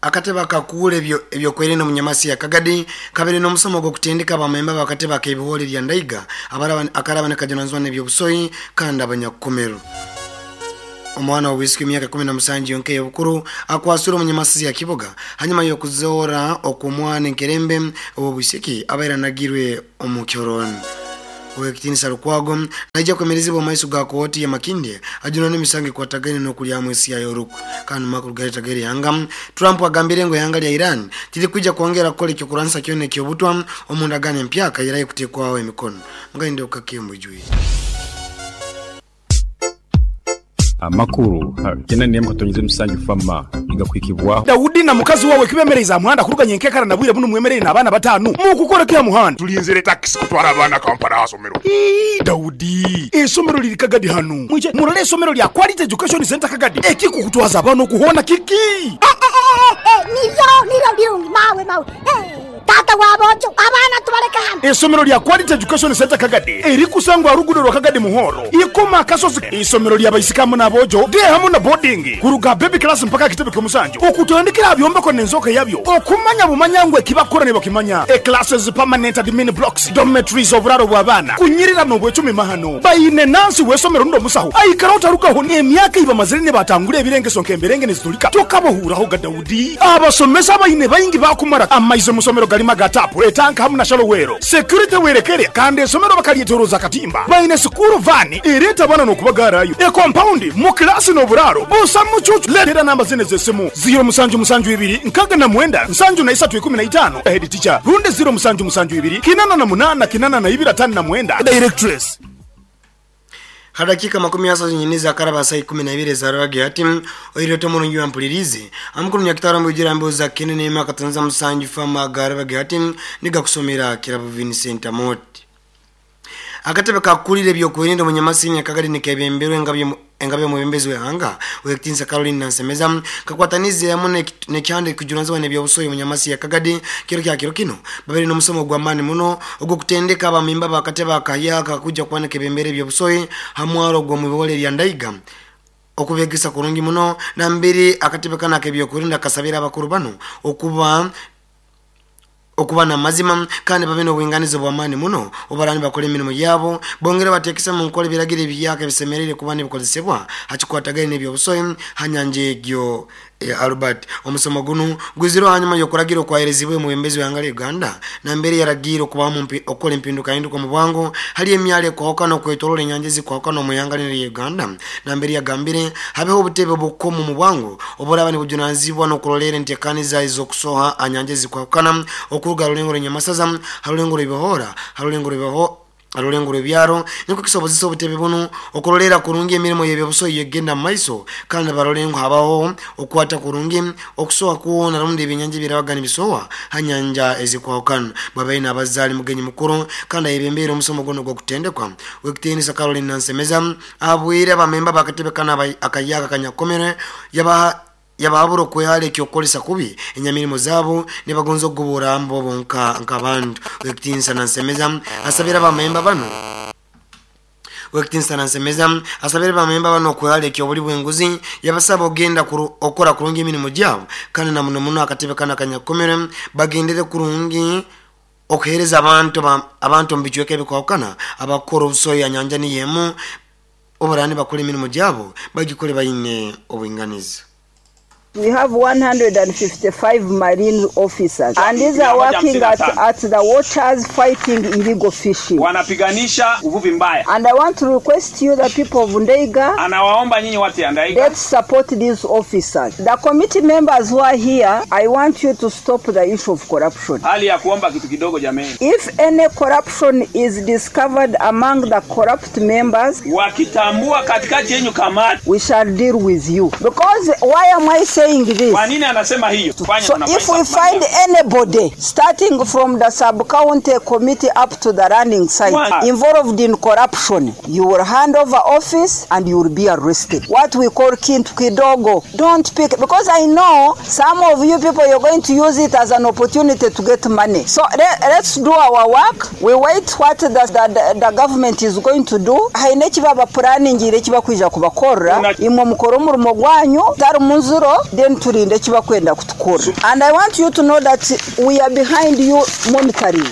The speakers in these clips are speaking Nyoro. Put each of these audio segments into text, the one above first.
Akatebe akakuura ebyokwerinda omu Nyamasi ya Kagadi kabaire n'omusomo ogw'okutendeka abamemba b'akatebe ak'ebihooro erya Ndaiga akaraba nikajunanizibwa n'ebyobusohi kandi abanyakukomerwe. Omwana w'obwisiki w'emyaka 17 yonka ey'obukuru akwasirwe omu Nyamasizi ya Kiboga hanyuma y'okuzoora okw'omwana enkerembe ow'obwisiki abaire anagirwe omu kyorooni. Ow'ekitiinisa Lukwago naija kwemerezibwa omu maiso ga kooti ya Makindye ajunanwe emisango ekwatagaine n'okulyamu ensi yayo orukwe. Kandi mu makuru galeeta g'erihanga, Trump agambire ngu ihanga lya Iran tirikwija kwongera kukora eky'okurwanisa kyona eky'obutwa omu ndagaano empyaka eyerayo kuteekwaho emikono. Mugainde okukake mubwijwire. Amakuru ha kyenda n'emu katonyeze musanju FAMA nigakuhikibwaho. Daudi na mukazi wawe kibemereize aha muhanda kuruga nyenkekara na bwire bunu mwemereire n'abaana batanu. Mukukora ki aha muhanda? Tulinzire takisi kutwara abaana Kampala aha somero. Ii, Daudi, eisomero liri Kagadi hanu. Mwije murole eisomero lya Quality Education Centre Kagadi. Ekikukutwaza abaana okuhoona kiki? Niryo, niryo lirungi mawe, mawe. Taata w'aboojo, abaana tubaleke hanu. Eisomero lya Quality Education Centre Kagadi erikusangwa aha ruguudo rwa Kagadi Muhoro, Ikoma Akasozi. Eisomero lya baisiki hamu n'aboojo, day hamu na boarding, kuruga aha baby class mpaka aha kitebe ky'omusanju, okutandikira aha byombeko n'enzooka yabyo, okumanya bumanya ngu ekibakukora nibakimanya, e classes, permanent admin blocks, dormitories, oburaaro bw'abaana, kunyirira n'obwecumi mahano. Baine nansi w'eisomero rundi omusaho aikaraho tarugaho n'emyaka ei bamazire nibatangura ebirengeso nk'emberenge nizitulika tokabahuuraho ga Daudi. Abasomesa abaine baingi baakumara amaizi omu somero garimu aga taapu, etanka hamu na shalowero. Securite werekere kandi esomero bakaryetoroza akatimba. Baine sikuuru vaani ereeta abaana n'okubagaarayo. Ekompaundi, mu kilaasi n'oburaaro busa mucuucu. Leetera namba zinu ez'esimu, ziiro musanju musanju ibiri nkaaga na mwenda nsanju na isatu ikumi na itaano, Head teacher, rundi ziiro musanju musanju ibiri kinana na munaana kinana na ibiri ataano na mwenda, Directress. Ha dakiika makumi asatu nyine ezakaraba saa ikumi na ibiri eza rwagati ati, Oire ota omurungi wampuliriize? Amukuru Nyakitara omubijura emboozi za Kene n'Ema Katanza Musanju Farm aga rwagati ati, Nigakusomera Kirabo Vincent Amooti. Akatebe kakukurira eby'okwerinda omu Nyamasiini akagari nikebemberwa engabi y'omwebembezi w'eihanga Ow'ekitiinisa Caroline Nansemeza kakwataniize hamu n'ekihanda ekikujunanizibwa n'eby'obusohi omu Nyamasi ya Kagadi kiro kya kiro kinu babaire n'omusomo ogw'amaani muno ogw'okutendeka abamemba b'akatebe akahyaka akakwija kuba nikebembera eby'obusohi ha mwaro ogw'omu ibihore erya Ndaiga okubegesa kurungi muno nambere akatebe kanu ak'ebyokwerinda kasabire abakuru banu okuba okuba n'amazima kandi babe n'obwinganiza obw'amaani muno obu nibakora emirimo yabo bongere bateekese mu nkora ebiragiro ebihyaka ebisemereire kuba nibikozesebwa ha kikwatagaine n'ebyobusohi ha nyanja egyo ya Albert. Omusomo gunu gwizirwe hanyuma y'okuragira okwaherezibwe omwebembezi w'ihanga lya Uganda nambere yaragiire okubamu okukora empindukahinduka omu bwangu hali emyaro ekwahukana okwetoroora enyanja ezikwahukana omu ihanga linu erya Uganda nambere yagambire habeho obutebe obukumu omu bwangu oburaba nibujunanizibwa n'okuroleera enteekaniza ez'okusoha aha nyanja ezikwahukana okuruga ha rulengo rw'Enyamasaza, ha rulengo rw'Ebihoora, ha rulengo rw'Ebiho ha rulengo rw'ebyaro nikwo kisobozesa obutebe bunu okuroleera kurungi emirimo y'ebyobusohi egenda mu maiso kandi barole ngu habaho okukwata kurungi okusoha kwona rundi ebyenyanja ebirabaga nibisohwa ha nyanja ezikwahukana. Bwabaire nabaza ali mugenyi mukuru kandi ayebembeire omusomo gunu ogw'okutendekwa Ow'ekitiinisa Caroline Nansemeza abwire abamemba b'akatebe kanu akahyaka akanyakukomere yabaha yabahabura okwehara ekyokukolesa kubi enyamirimo zaabo nibagonza okugubura bo bonka nk'abantu. Ow'ekitiinisa Nansemeza asabire abamemba bano Ow'ekitiinisa Nansemeza asabire abamemba bano okwehara eky'obuli bw'enguzi yabasaba ogenda okukora kurungi emirimo gyabo kandi na muno muno akatebe kanu akanyakukomere bagendere kurungi okuheereza abantu abantu omu bicweka ebikwahukana abakukora obusohi ha nyanja niyo emu oburaba nibakora emirimo gyabo bagikore baine obwinganiza. We have 155 marine officers and these are working at the waters fighting illegal fishing. Wanapiganisha uvuvi mbaya. And I want to request you, the people of Ndeiga, Anawaomba nyinyi watu ya Ndaiga, let's support these officers. The committee members who are here, I want you to stop the issue of corruption. Hali ya kuomba kitu kidogo jameni. If any corruption is discovered among the corrupt members, wakitambua katikati yenyu kamati, we shall deal with you. Because why am I saying this? Kwa nini anasema hiyo? Tufanye So if we find anybody starting from the sub-county committee up to the running site involved in corruption, you will hand over office and you will be arrested. What we call kintu kidogo. Don't pick, because I know some of you people, you're going to use it as an opportunity to get money. So let's do our work. We wait what the government is going to do. Haine kiba planning ire kiba kwija kubakorra. Imwe mukora umurimo gwanyu tari munzuro. Then tulinde ekibakwenda kutukora. And I want you to know that we are behind you monitoring.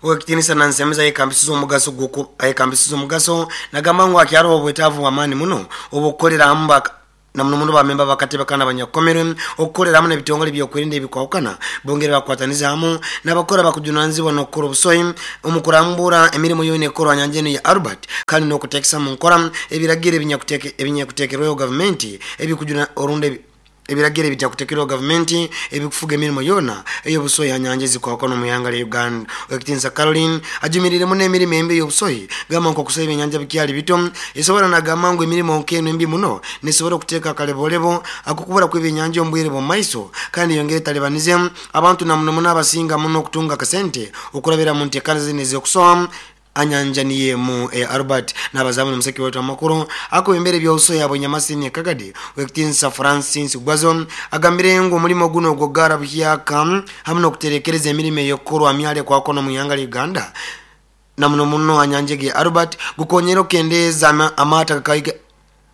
Owekitinisa Nansemeza ayekambisize omugaso gw'oku ayekambisize omugaso nagamba ngu akyaroho obwetaavu bw'amaani muno obw'okukolera hamu baka na muno muno bamemba bakatebe kana abanyakukomerwe okukolera hamu n'ebitongole by'okwerinda ebikwahukana bongere bakwatanize hamu n'abakora bakujunanizibwa n'okukora obusohi omu kurambura emirimu yoona ekorwa nyanja enu ya Albert kandi n'okuteekesa mu nkora ebiragiro ebinyakuteekerweho gavumenti ebikujuna orundi ebiragiro ebitakuteekerweho gavumenti ebikufuga emirimo yoona ey'obusohi ha nyanja ezikwahukana omu ihanga lya Uganda. Owekitinisa Caroline ajumirire muno emirimo embi ey'obusohi gamba nk'okusoha ebyenyanja bikyali bito esobora nagamba ngu emirimo nk'enu embi muno nesobora okuteeka akalebolebo ak'okubura kw'ebyenyanja omu bwire bw'omu maiso kandi eyongere etalibanize abantu na muno muno abasinga muno okutunga akasente okurabira mu nteekaniza zinu ez'okusoha anyanja niyo emu eya Albert. N'abazaamu n'omuseki waitu amakuru akwebembera eby'obusohi abw'enyamasini Kagadi Owekitinisa Francis Gwazo agambire ngu omulimo guno ogw'okugaara buhyaka hamu n'okuterekereza emirimo ey'okukorwa myali ekwakona omu ihanga lya Uganda na muno muno anyanja egi ya Albert gukonyera okukendeeza amaato agakaiga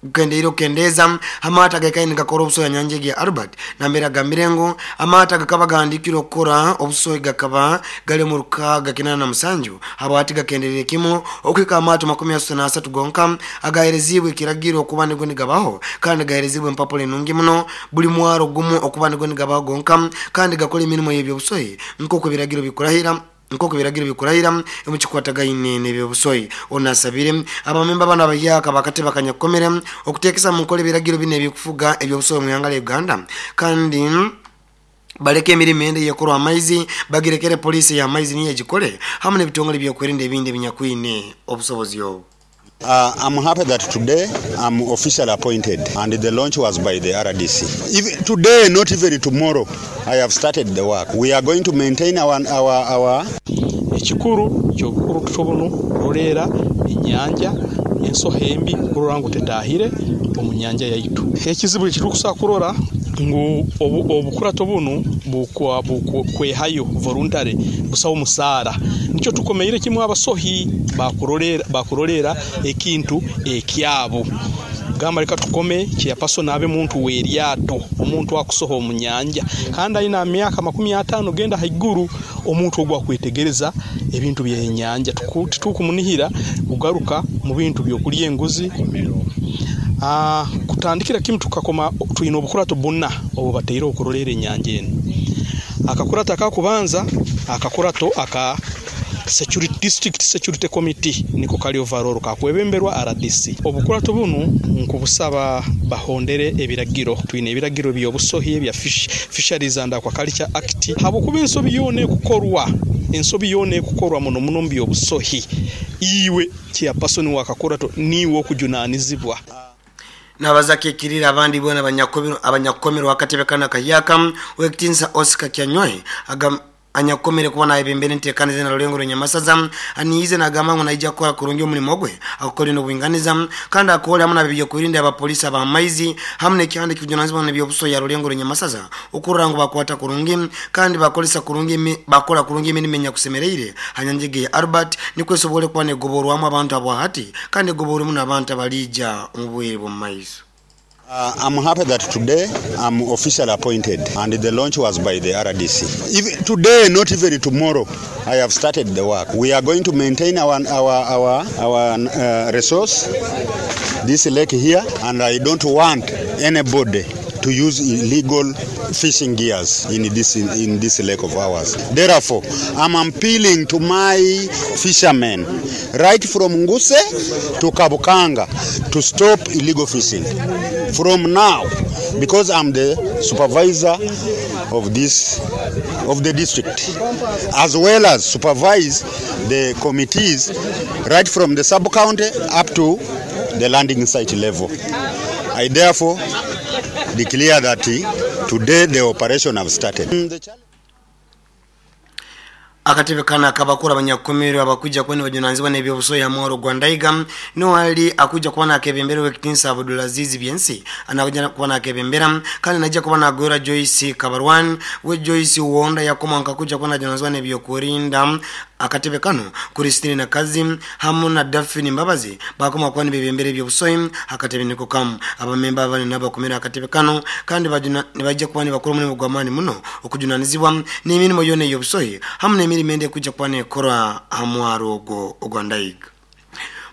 gukendeire okukendeeza amaato agakaire nigakora obusohi ha nyanja egi ya Albert nambere agambire ngu amaato agakaba gahandiikirwe okukora obusohi gakaba gali omu 687 habwati gakenderire kimu okuhika amaato 33 gonka agahereziibwe ekiragiro okuba nigo nigabaho kandi gahereziibwe empapura enungi muno buli mwaro gumu okuba nigo nigabaho gonka kandi gakora emirimo y'ebyobusohi nk'oku ebiragiro bikurahira nk'oku ebiragiro bikurahira omukikwatagaine n'ebyobusohi. Ono asabire abamemba bano abahyaka bakatebe akanyakukomere okuteekesa mu nkola ebiragiro binu ebikufuga ebyobusohi omu ihanga lya Uganda kandi baleke emirimo endi eyekorwa amaizi bagirekere poliisi ey'amaizi niyo egikole hamu n'ebitongole by'okwerinda ebindi ebinyakwine obusobozi obu. I'm happy that today I'm officially appointed and the launch was by the RDC. Even today, not even tomorrow, I have started the work. We are going to maintain our, our, our Ekikuru ky'obukurukuto bunu kuroleera enyanja ensoha embi kurora ngu tetaahire omu nyanja yaitu. Ekizibu ekiturukusobora kurora ngu obukurato bunu bukwehayo voluntary busaho musaara nikyo tukomeire kimu abasohi bakuroleera ekintu ekyabo. Gamba leka tukome chairperson abe muntu w'eryato, omuntu akusoha omu nyanja kandi aine myaka 50 genda haiguru, omuntu ogu akwetegereza ebintu by'enyanja. Titukumunihira kugaruka mu bintu by'okulya enguzi. Kutandikira kimu tukakoma twine obukurato buna obu bataireho kuroleera enyanja enu. Akakurato akakubanza akakurato aka Security District Security Committee niko kali overall kakwebemberwa RDC. Obukurato bunu nkubusaba bahondere ebiragiro. Twine ebiragiro by'obusohi ebya Fisheries and Aquaculture Act. Habwokuba ensobi yoona ekukorwa, ensobi yoona ekukorwa muno muno mu by'obusohi, iwe chairperson w'akakurato niiwe okujunanizibwa. Nabaza akikirire abandi boona abanyakukomerwe akatebe kanu akahyaka Owekitinisa Oscar Kyanywahe anyakukomere kuba nayebembera enteekaniza na Rulengo rw'Enyamasaza aniize nagamba ngu naija kukora kurungi omulimo gwe akukore n'obwinganiza kandi akole hamu n'ab'ebyokwerinda abapoliisi ab'amaizi hamu n'ekihanda ekikujunanizibwa n'ebyobusohi ya Rulengo rw'Enyamasaza okurora ngu bakwata kurungi kandi bakolesa kurungi bakora kurungi emirimo enyakusemereire ha nyanja egi ya Albert nikwo esobole kuba negoborwamu abantu abwahati kandi egoborwemu n'abantu abaliija omu bwire bw'omu maiso. I'm happy that today I'm officially appointed and the launch was by the RDC. Even today, not even tomorrow, I have started the work. We are going to maintain our resource, this lake here, and I don't want anybody to use illegal fishing gears in this lake of ours. Therefore, I'm appealing to my fishermen, right from Nguse to Kabukanga, to stop illegal fishing from now, because I'm the supervisor of the district, as well as supervise the committees right from the sub-county up to the landing site level. I therefore declare that today the operation have started. Akatebe kana akabakura abanyakukomerwe abakuja kwene bajunanizibwa n'ebyobusohi hamwaro gwa Ndaiga niwali akuja kuba nakebembera Owekitinisa Abdulaziz Byensi anakuja kuba nakebembera kandi najja kuba nagwera Joyce Kabarwan we Joyce Wonda yakoma nkakuja kuba najunanizibwa n'ebyokurinda Akatebe kano Christine Nakazi hamu na Daphne Mbabazi bakoma kuba nibebembera ebyobusohi akatebe niko kamu. Abamemba abandi nabo bakomera akatebe kano kandi nibajja kuba nibakora omulimu gw'amaani muno okujunanizibwa n'emirimo yona ey'obusohi hamu n'emirimo endi ekujja kuba nekora ha mwaro ogwo ogwa Ndaiga.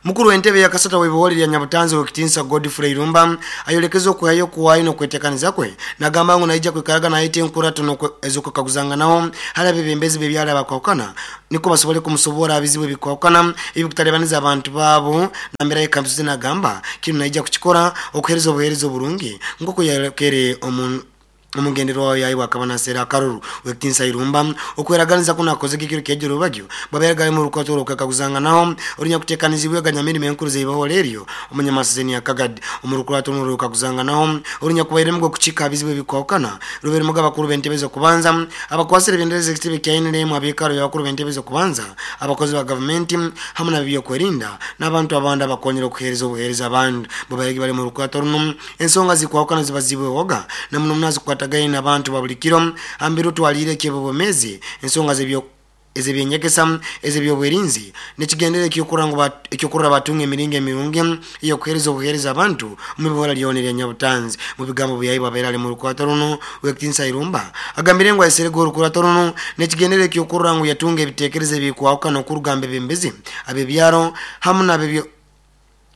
Mukuru w'entebe ya kasata w'ebihori lya Nyabutanzi w'ekitinsa Godfrey Irumba ayolekeza okuhayo okuwayo n'okwetekaniza kwe, nagamba ngu naija kwikaraga nayeta enkurato ez'okwekaguzanganaho hali abebembezi b'ebyaro abakwahukana niko basobole kumusobora aha bizibu ebikwahukana ebikutalibaniza abantu baabo nambere ayekambisize nagamba kinu naija kukikora okuhereza obuhereza oburungi nk'oku yayolekere omu omugenderwaho yaibwe akaba naseera akaruru. Wekitinsa Irumba okweraganiza kuno akozege ekiro ky'ejjo rubagyo bwabaire galimu orukwato orw'okwekaguzanganaho orunyakuteekanizibwe ganyamirimo enkuru z'eibaholo eryo omunyamasizeni ya Kagadi. Omu rukurato runu orw'okwekaguzanganaho orunyakubairemu gw'okukiika ha bizibu ebikwahukana rubairemu abakuru b'entebe z'okubanza, abakwasire ebendera z'ekitebe kya NRM, abiikaro by'abakuru b'entebe z'okubanza, abakozi ba gavumenti hamu n'ab'ebyokwerinda n'abantu abandi abakonyera okuheereza obuheereza abandi. Bwabairege bali omu rukurato runu. Ensonga zikwahukana zibazibwehoga na muno muno azikwatagaine n'abantu ba buli kiro hambere otwaliire eky'obwomeezi, ensonga ez'ebyenyegesa, ez'ebyobwerinzi n'ekigendererwa ekyokurora ngu ekyokurora batunga emiringo emirungi ey'okuheereza obuheereza abantu omu bihora lyona erya Nyabutanzi. Mu bigambo byaibwe abaire ali mu rukurato runu, Owekitinisa Irumba agambire ngu ayeserege orukurato runu n'ekigendererwa ekyokurora ngu yatunga ebitekerezo ebikwahukana okuruga omu bebembezi ab'ebyaro hamu n'abebyo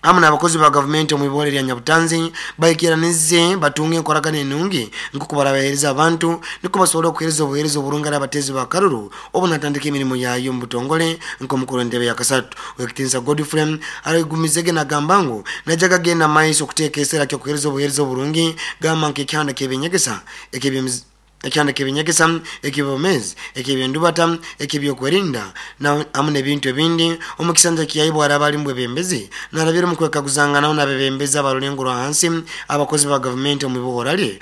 hamu n'abakozi ba gavumenti omu ibora erya Nyabutanzi baikiranize batunge enkoragana enungi nk'oku barabaheereza abantu nukwo basobole okuheereza obuheereza oburungi hali abateezi ba karuru obu natandika emirimo yayo omu butongole nk'omukuru w'entebe ya kasatu. Owekitinisa Godfrey aragumizege nagamba ngu naija gagenda maiso okuteeka esera ky'okuheereza obuheereza oburungi gamba nk'ekihanda ky'eby'enyegesa eky'eby'emizi Ekyanda ky'ebinyegesa, eky'obwomeezi, eky'eby'endubata, eky'ebyokwerinda, na hamu n'ebintu ebindi. Omu kisanja kyaibwe araba ali mubwebembezi, narabira omu kwekaguzanganaho n'abebembezi abarulengo rwa hansi, abakozi ba gavumenti omu ibohora lye,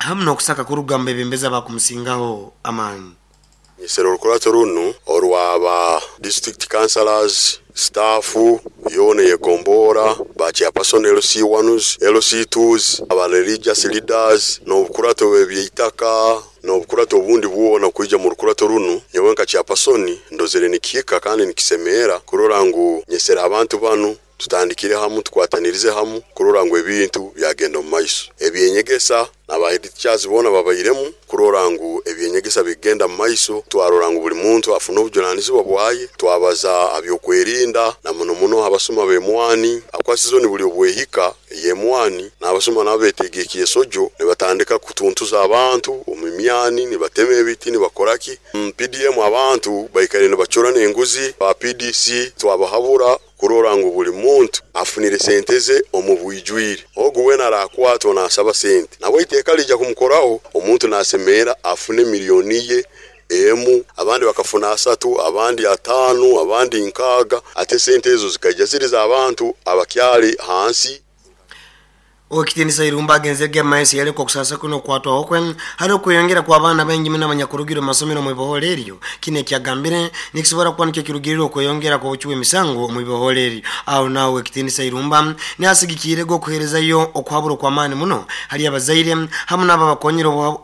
hamu n'okusaka kuruga omu bebembezi abakumusingaho amaani. Nyesere orukurato runu orwa ba district councillors, staff yoona eyegomboora, ba chairperson LC ones, LC twos, aba religious leaders n'obukurato bw'ebyeitaka n'obukurato obundi bwona kwija mu rukurato runu. Nyowe nka chairperson ndozere nikihika kandi nikisemeera kurora ngu nyesere abantu banu tutandikire hamu, tukwatanirize hamu kurora ngu ebintu byagenda omu maiso. Ebyenyegesa na ba head teachers boona babairemu kurora ngu ebyenyegesa bigenda mu maiso. Twarora ngu buli muntu afuna obujunanizibwa bwaye. Twabaza ha byokwerinda na muno muno abasuma b'emwani. Habwokuba sizoni buli obwehika ey'emwani, n'abasuma nabo beteega ekyesojo nibatandika kutuntuza abantu omu myani, nibatema ebiti, nibakora ki. PDM abantu baikaire nibacura n'enguzi. Ba PDC twabahabura kurora ngu buli muntu afunire sente ze omu bwijwire. Ogu weena araakwatwa naasaba sente, nawe eiteeka liija kumukoraho. Omuntu naasemerra afune milioni ye emu, abandi bakafuna asatu, abandi ataano, abandi nkaaga, ate sente ezo zikaija ziri z'abantu abakyali hansi. Owekitinisa Irumba agenzerege maiso yaleka okusasa kwe n'okukwatwaho kwe hali okweyongera kw'abaana baingi muno abanyakurugire omu masomero omu iboholo eryo. Kinu ekiyagambire nikisobora kuba nikyo kirugirire okweyongera kw'obucwi bw'emisango omu iboholo eryo. Aho naho Owekitinisa Irumba niasigikiirege okuheerezayo okuhabura okw'amaani muno hali abazaire hamu n'abo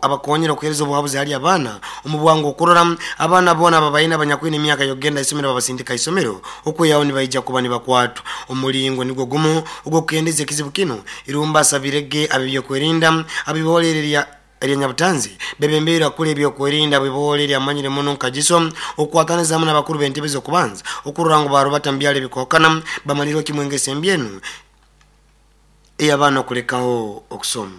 abakonyera okuheereza obuhabuzi hali abaana omu bwangu okurora abaana boona ababaine abanyakwine emyaka y'okugenda ha isomero babasindika ha isomero okwihaho nibaija kuba nibakwatwa. Omulingo nigwo gumu ogw'okukendeeza ekizibu kinu, Irumba asabire ge ab'ebyokwerinda ab'iboholo eri erya Nyabutanzi bebembeire akura ebyokwerinda bw'iboholo eri amanyire muno nka Giso okukwataniza hamu n'abakuru b'entebe z'okubanza okurora ngu barubata mu byaro ebikwahukana bamalirwe kimu engeso embi enu ey'abaana okulekaho okusoma.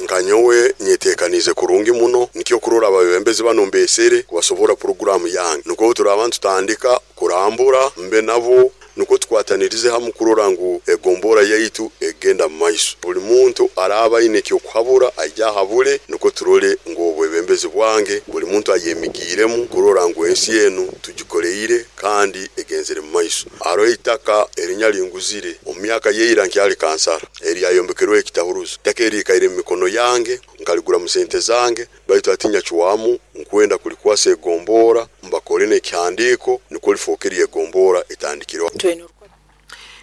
Nka nyowe nyetekaniize kurungi muno, nikyo kurora abebembezi banu mbesere kubasoborra puroguraamu yange. Nukwo obu turaaba nitutandika kurambura mbe nabo nukwo tukwatanirize hamu kurora ngu egombora yaitu egenda mu maiso. Buli muntu araaba aine eky'okuhabura aije ahabule nukwo turole ngu obwebembezi bwange buli muntu ayemigiiremu kurora ngu ensi enu tugikoleire kandi egenzere mu maiso. Haroho eitaka erinyaringuzire omu myaka y'eira nkyali kansara. Eryayombekerweho ekitahuruzo. Itaka eri likaire mu mikono yange, nkaligura mu sente zange, baitu hati nyacwamu nkwenda kulikwasa egomboora, mbakore n'ekihandiiko nukwo lifooke ery'egomboora etandikirweho.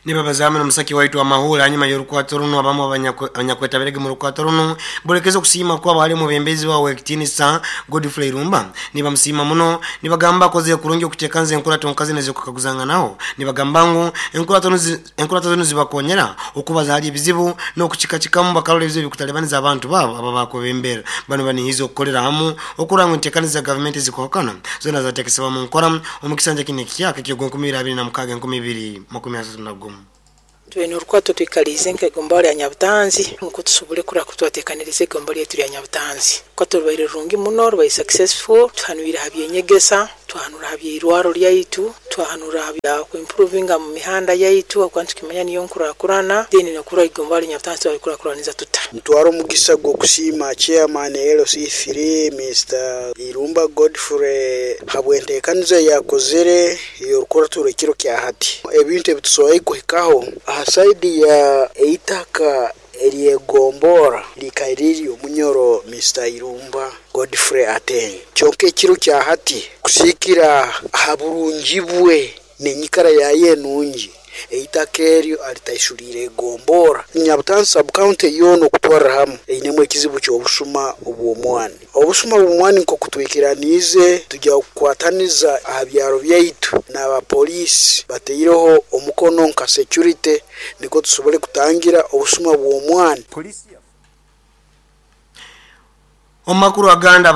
Nibabazamu n'omusaki waitu amahura hanyuma y'orukwato runo. Abamu abanyakwetabirege mu rukwato runo bolekeza okusiima kwabo hali omubembezi wawe ekitinisa Godfrey Irumba. Nibamusiima muno, nibagamba akoze kurungi okutekanza enkurato nkazi nezokukaguzanganaho. Nibagamba ngu enkurato zinu zibakonyera okubaza hali ebizibu n'okukikakikamu bakarora ebizibu ebikutalibaniza abantu babo aba bakwebembera. Bano banihiza okukolera hamu okurora ngu entekaniza za gavumenti zikuhakana zona zatekesebwa mu nkora omu kisanja kinu ekihyaka eky'ogwa 2026 2031. Twine orukwato twikaliize nk'egomba lya Nyabutanzi nukwo tusobole kurora ku twateekaniriza egomba lyaitu lya Nyabutanzi. Orukwato rubaire rurungi muno, rubaire successful, tuhanwire ha by'enyegesa, twahanura ha by'eirwaro lyaitu, twahanura ha bya kuimprovinga mu mihanda yaitu habwokuba nitukimanya niyo nkurakurana, then n'okurora igomba lya Nyabutanzi twalikurakuraniza tuta. Ntwara omugisa gw'okusiima Chairman LC3 Mister Irumba Godfrey habw'enteekaniza ei akozere ey'orukurato rw'ekiro kya hati. Ebintu ebi tusoboire kuhikaho aha saidi ya eitaka ery'egomborra likaire riri omunyoro Mister Irumba Godfrey Ateng. Kyonka ekiro kya hati kusiikira aha burungi bwe n'enyikara yayo enungi, eitaka eryo alitaishuliire egomborra. Nyabutanzi sub-county yoona okutwarra hamu einemu ekizibu ky'obusuma obw'omwani. Obusuma bw'omwani nk'oku twikiraniize tugya kukwataniza aha byaro byaitu n'aba poliisi bataireho omukono nka security nikwo tusobole kutangira obusuma bw'omwani. Omu makuru agandi.